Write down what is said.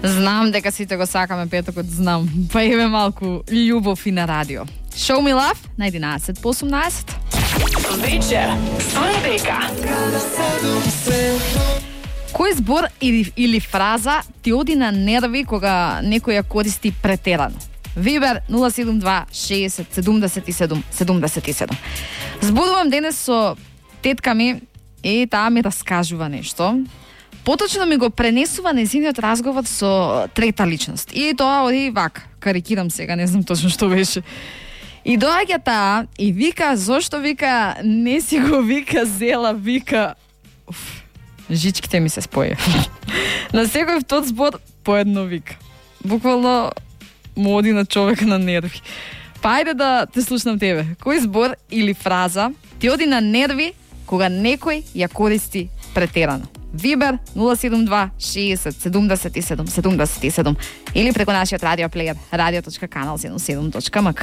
Знам дека сите го сакаме петокот, знам. Па еве малку љубов и на радио. Show Me Love на 11 по 18. Вечер со Ребека. Кој збор или фраза ти оди на нерви кога некој ја користи претерано? Вибер 072 60 77 77. Зборувам денес со тетка ми и таа ми раскажува нешто. Поточно ми го пренесува нејзиниот разговор со трета личност. И тоа оди вака, карикирам сега, не знам точно што беше. И доаѓа таа и вика, зошто вика, не си го вика зела, вика... Жичките ми се споја. На секој втор збор по едно вика. Буквално му оди на човек на нерви. Па ајде да те слушнам тебе. Кој збор или фраза ти оди на нерви кога некој ја користи претерано? Вибер 072 60 77 77 или преку нашиот радиоплеер radio.kanal77.mk.